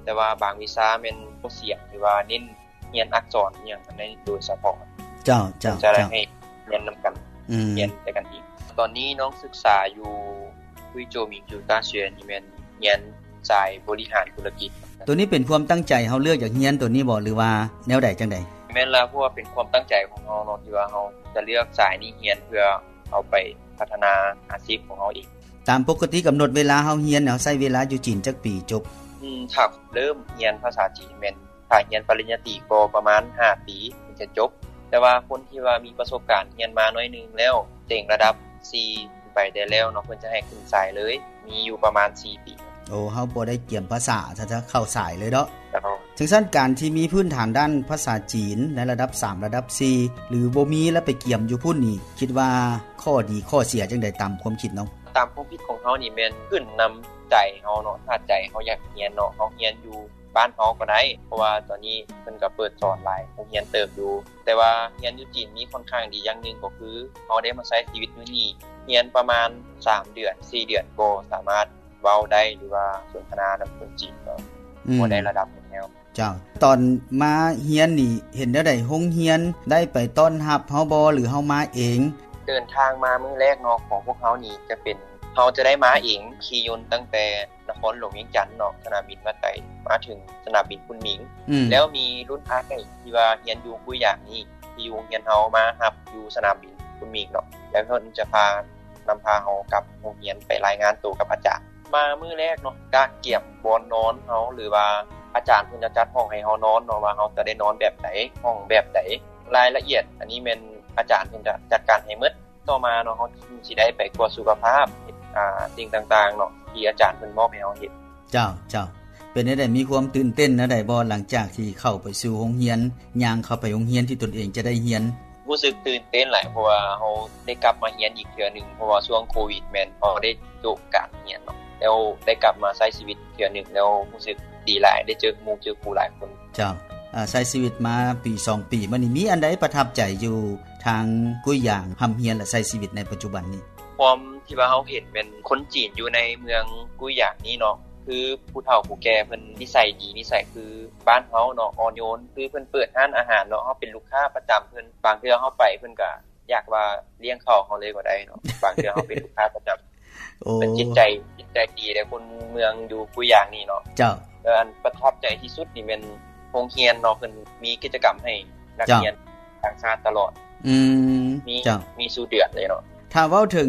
ແຕ່ວ່າບາງວິຊາແມ່ນບໍ່ສຽງ ຫຼືວ່າເນັ້ນຮຽນອັກສອນອີ່ຫຍັງນັ້ນໂດຍສະເພາະ. ເຈົ້າ ເຈົ້າ ຈະໄດ້ໃຫ້ຮຽນນຳກັນ ອືມ ຮຽນໃສ່ກັນອີກ. ຕອນນີ້ນ້ອງສຶກສາຢູ່ 贵州民族大学 ນີ້ແມ່ນຮຽນສາຍບໍລິຫານທຸລະກິດ. ໂຕນີ້ເປັນຄວາມຕັ້ງໃຈເຮົາເລືອກຢາກຮຽນໂຕນີ້ບໍ່ ຫຼືວ່າແນວໃດຈັ່ງໃດ? ແມ່ນລະ ເພາະວ່າເປັນຄວາມຕັ້ງໃຈຂອງເຮົາເນາະ ທີ່ວ່າເຮົາຈະເລືອກສາຍນີ້ຮຽນ ເພື່ອເອົາໄປພັດທະນາອາຊີບຂອງເຮົາເອງ. ຕາມປົກກະຕິກຳນົດເວລາເຮົາຮຽນ ເຮົາໃຊ້ເວລາຢູ່ຈີນຈັກປີຈົບ? ອືມ ຖ້າເລີ່ມຮຽນພາສາຈີນແມ່ນ ຖ້າຮຽນປະລິນຍາຕີກໍປະມານຫ້າປີເຖິງຈະຈົບ, ແຕ່ວ່າຄົນທີ່ວ່າມີປະສົບການຮຽນມາໜ້ອຍໜຶ່ງແລ້ວ ເຕັງລະດັບສີ່ຂຶ້ນໄປໄດ້ແລ້ວເນາະ ເພິ່ນຈະໃຫ້ຂຶ້ນສາຍເລີຍ ມີຢູ່ປະມານສີ່ປີ. ໂອ້ ເຮົາບໍ່ໄດ້ກຽມພາສາ ຖ້າຈະເຂົ້າສາຍເລີຍເນາະ. ເຈົ້າ. ຈັ່ງຊັ້ນ ການທີ່ມີພື້ນຖານດ້ານພາສາຈີນໃນລະດັບສາມ ລະດັບສີ່ ຫຼືບໍ່ມີ ແລ້ວໄປກຽມຢູ່ພຸ້ນນີ້ ຄິດວ່າຂໍ້ດີຂໍ້ເສຍຈັ່ງໃດຕາມຄວາມຄິດນ້ອງ? ຕາມຄວາມຄິດຂອງເຮົານີ້ແມ່ນຂຶ້ນນຳໃຈເຮົາເນາະ ຖ້າໃຈເຮົາຢາກຮຽນເນາະ ເຮົາຮຽນຢູ່ ບ້ານເຮົາກໍໄດ້ ເພາະວ່າຕອນນີ້ເພິ່ນກໍເປີດສອນຫຼາຍໂຮງຮຽນເຕີບຢູ່. ແຕ່ວ່າຮຽນຢູ່ຈີນນີ້ຄ່ອນຂ້າງດີຢ່າງໜຶ່ງກໍຄື ເຮົາໄດ້ມາໃຊ້ຊີວິດຢູ່ນີ້ ຮຽນປະມານສາມເດືອນ ສີ່ເດືອນ ກໍສາມາດເວົ້າໄດ້ ຫຼືວ່າສົນທະນານຳຄົນຈີນກໍ ອືມ ພໍໄດ້ລະດັບໜຶ່ງແລ້ວ. ເຈົ້າ. ຕອນມາຮຽນນີ້ເຫັນແນວໃດ? ໂຮງຮຽນໄດ້ໄປຕ້ອນຮັບເຮົາບໍ່ ຫຼືເຮົາມາເອງ? ເດີນທາງມາມື້ແລກເນາະ ຂອງພວກເຮົານີ້ຈະເປັນ ເຮົາຈະໄດ້ມາເອງ ຂີ່ຍົນຕັ້ງແຕ່ ນະຄອນຫຼວງວຽງຈັນເນາະ ສະໜາມບິນວັດໄຕ ມາເຖິງສະໜາມບິນຄຸນໝິງ. ອືມ ແລ້ວມີລຸ້ນອ້າຍທີ່ວ່າຮຽນຢູ່ກຸຍຢາງນີ້ ທີ່ຢູ່ໂຮງຮຽນເຮົາ ມາຮັບຢູ່ສະໜາມບິນຄຸນໝິງເນາະ ແລ້ວເພິ່ນຈະພາ ນຳພາເຮົາກັບໂຮງຮຽນໄປລາຍງານໂຕກັບອາຈານ. ມາມື້ແລກເນາະ ກະກຽມບ່ອນນອນເຮົາ ຫຼືວ່າອາຈານເພິ່ນຈະຈັດຫ້ອງໃຫ້ເຮົານອນເນາະ ວ່າເຮົາຈະໄດ້ນອນແບບໃດ ຫ້ອງແບບໃດ ລາຍລະອຽດ ອັນນີ້ແມ່ນອາຈານເພິ່ນຈະຈັດການໃຫ້ໝົດ. ຕໍ່ມາເນາະ ເຮົາຈຶ່ງຊິໄດ້ໄປກວດສຸຂະພາບ ເຮັດ ອ່າ ສິ່ງຕ່າງໆເນາະ ທີ່ອາຈານເພິ່ນມອບໃຫ້ເຮົາເຮັດ. ເຈົ້າ ເຈົ້າ. ເປັນແນວໃດ? ມີຄວາມຕື່ນເຕັ້ນແນວໃດບໍ່? ຫຼັງຈາກທີ່ເຂົ້າໄປສູ່ໂຮງຮຽນ ຍ່າງເຂົ້າໄປໂຮງຮຽນທີ່ຕົນເອງຈະໄດ້ຮຽນ. ຮູ້ສຶກຕື່ນເຕັ້ນຫຼາຍ ເພາະວ່າເຮົາໄດ້ກັບມາຮຽນອີກເທື່ອໜຶ່ງ ເພາະວ່າຊ່ວງໂຄວິດແມ່ນເຮົາໄດ້ໂຈະການຮຽນເນາະ ແລ້ວໄດ້ກັບມາໃຊ້ຊີວິດເທື່ອໜຶ່ງ ແລ້ວຮູ້ສຶກດີຫຼາຍ ໄດ້ເຈີໝູ່ເຈີຄູ່ຫຼາຍຄົນ. ເຈົ້າ. ອາ ໃຊ້ຊີວິດມາປີສອງປີມານີ້ ມີອັນໃດປະທັບໃຈຢູ່ທາງກຸຍຢາງ ຮ່ຳຮຽນ ແລະ ໃຊ້ຊີວິດໃນປັດຈຸບັນນີ້? ຄວາມທີ່ວ່າເຮົາເຫັນແມ່ນຄົນຈີນຢູ່ໃນເມືອງກຸຍຢາງນີ້ເນາະ ຄືຜູ້ເຖົ້າຜູ້ແກ່ເພິ່ນນິໄສດີ ນິໄສຄືບ້ານເຮົາເນາະ ອ່ອນໂຍນ ຄືເພິ່ນເປີດຮ້ານອາຫານເນາະ ເຮົາເປັນລູກຄ້າປະຈຳເພິ່ນ ບາງເທື່ອເຮົາໄປເພິ່ນກະ ຢາກວ່າລ້ຽງເຂົ້າເຮົາເລີຍກໍໄດ້ເນາະ ບາງເທື່ອເຮົາເປັນລູກຄ້າປະຈຳ. ໂອ້ ເພິ່ນຈິດໃຈ ຈິດໃຈດີເດ້ ຄົນເມືອງຢູ່ກຸຍຢາງນີ້ເນາະ. ເຈົ້າ. ແລ້ວອັນປະທັບໃຈທີ່ສຸດນີ້ແມ່ນໂຮງຮຽນເນາະ ເພິ່ນມີກິດຈະກຳໃຫ້ນັກຮຽນຕ່າງຊາດຕະຫຼອດ. ອືມ ມີ ເຈົ້າ ມີສູ່ເດືອນເລີຍເນາະ. ຖ້າເວົ້າເຖິງ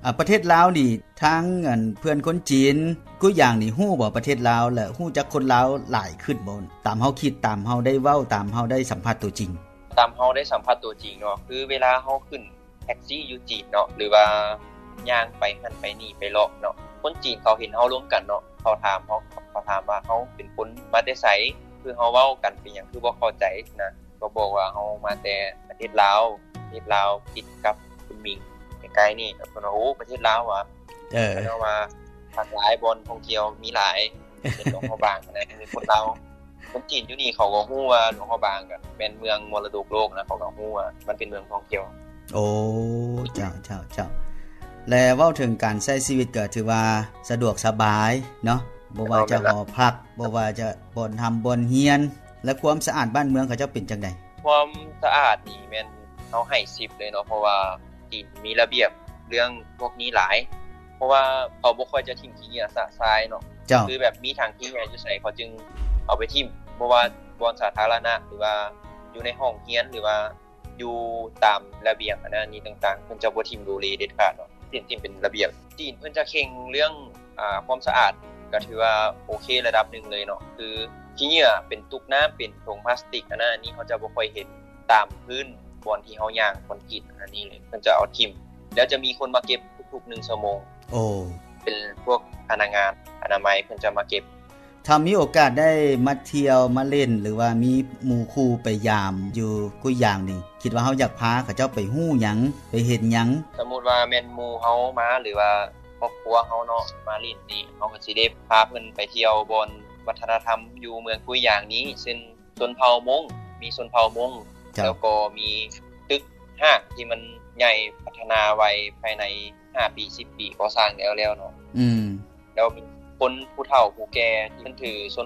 ອາ ປະເທດລາວນີ້ ທາງ ອັນ ເພື່ອນຄົນຈີນກຸຍຢາງນີ້ຮູ້ບໍ່ປະເທດລາວ ແລະ ຮູ້ຈັກຄົນລາວຫຼາຍຂຶ້ນບໍ່? ຕາມເຮົາຄິດ ຕາມເຮົາໄດ້ເວົ້າ ຕາມເຮົາໄດ້ສຳຜັດຕົວຈິງ. ຕາມເຮົາໄດ້ສຳຜັດຕົວຈິງເນາະ ຄືເວລາເຮົາຂຶ້ນແທັກຊີຢູ່ຈີນເນາະ ຫຼືວ່າຍ່າງໄປຫັ້ນໄປນີ້ໄປເລາະເນາະ ຄົນຈີນເຂົາເຫັນເຮົາລົມກັນເນາະ ເຂົາຖາມເຮົາ ເຂົາຖາມວ່າເຮົາເປັນຄົນມາແຕ່ໃສ ຄືເຮົາເວົ້າກັນເປັນຫຍັງຄືບໍ່ເຂົ້າໃຈນະ ກໍບອກວ່າເຮົາມາແຕ່ປະເທດລາວ ປະເທດລາວຕິດກັບຄຸນໝິງໃກ້ໆນີ້ ເພິ່ນວ່າ ໂອ້ ປະເທດລາວຫວາ? ເອີ ເພິ່ນວ່າ ຫຼາກຫຼາຍ ບ່ອນທ່ອງທ່ຽວມີຫຼາຍ ເປັນຫຼວງພະບາງນະ ຄົນລາວ ຄົນຈີນຢູ່ນີ້ເຂົາກໍຮູ້ວ່າຫຼວງພະບາງກໍແມ່ນເມືອງມໍລະດົກໂລກນະ ເຂົາກໍຮູ້ວ່າມັນເປັນເມືອງທ່ອງທ່ຽວ. ໂອ້ ເຈົ້າ ເຈົ້າ ເຈົ້າ. ແລະ ເວົ້າເຖິງການໃຊ້ຊີວິດກໍຖືວ່າສະດວກສະບາຍເນາະ ບໍ່ວ່າຈະຫໍພັກ ບໍ່ວ່າຈະບ່ອນຮ່ຳບ່ອນຮຽນ ແລະ ຄວາມສະອາດບ້ານເມືອງເຂົາເຈົ້າເປັນຈັ່ງໃດ? ຄວາມສະອາດນີ້ແມ່ນເຮົາໃຫ້ສິບເລີຍເນາະ ເພາະວ່າ ຈີນມີລະບຽບເລື່ອງພວກນີ້ຫຼາຍ ເພາະວ່າເຂົາບໍ່ຄ່ອຍຈະຖິ້ມຂີ້ເຫຍື້ອຊະຊາຍເນາະ. ເຈົ້າ. ຄືແບບມີຖັງຂີ້ເຫຍື້ອຢູ່ໃສ ເຂົາຈຶ່ງເອົາໄປຖິ້ມ ບໍ່ວ່າບ່ອນສາທາລະນະ ຫຼືວ່າຢູ່ໃນຫ້ອງຮຽນ ຫຼືວ່າຢູ່ຕາມລະບຽງ ອັນນັ້ນນີ້ຕ່າງໆ ເພິ່ນຈະບໍ່ຖິ້ມໂລເລເດັດຂາດເນາະ ຖິ້ມ ຖິ້ມເປັນລະບຽບ. ຈີນເພິ່ນຈະເຄັ່ງເລື່ອງ ອ່າ ຄວາມສະອາດ ກໍຖືວ່າໂອເຄລະດັບໜຶ່ງເລີຍເນາະ ຄືຂີ້ເຫຍື້ອເປັນຕຸກນ້ຳ ເປັນຖົງພລາສຕິກ ອັນນັ້ນນີ້ເຮົາຈະບໍ່ຄ່ອຍເຫັນ ຕາມພື້ນບ່ອນທີ່ເຮົາຍ່າງຄອນກຣີດອັນນີ້ເລີຍ ເພິ່ນຈະເອົາຖິ້ມ ແລ້ວຈະມີຄົນມາເກັບທຸກໆໜຶ່ງຊົ່ວໂມງ. ໂອ້ ເປັນພວກພະນັກງານອະນາໄມເພິ່ນຈະມາເກັບ. ຖ້າມີໂອກາດໄດ້ມາທ່ຽວມາຫຼິ້ນ ຫຼືວ່າມີໝູ່ຄູ່ໄປຢາມຢູ່ກຸຍຢາງນີ້ ຄິດວ່າເຮົາຢາກພາເຂົາເຈົ້າໄປຮູ້ຫຍັງ ໄປເຫັນຫຍັງ? ສົມມຸດວ່າແມ່ນໝູ່ເຮົາມາ ຫຼືວ່າຄອບຄົວເຮົາເນາະ ມາຫຼິ້ນນີ້ ເຮົາກໍຊິໄດ້ພາເພິ່ນໄປທ່ຽວບ່ອນວັດທະນະທຳຢູ່ເມືອງກຸຍຢາງນີ້ ເຊັ່ນ ຊົນເຜົ່າມົ້ງ ມີຊົນເຜົ່າມົ້ງ ເຈົ້າ ແລ້ວກໍມີຕຶກຮ້າງທີ່ມັນໃຫຍ່ພັດທະນາໄວ ພາຍໃນຫ້າປີ ສິບປີກໍ່ສ້າງແລ້ວໆເນາະ. ອືມ ແລ້ວມີຄົນຜູ້ເຖົ້າຜູ້ແກ່ທີ່ເພິ່ນຖືຊົນ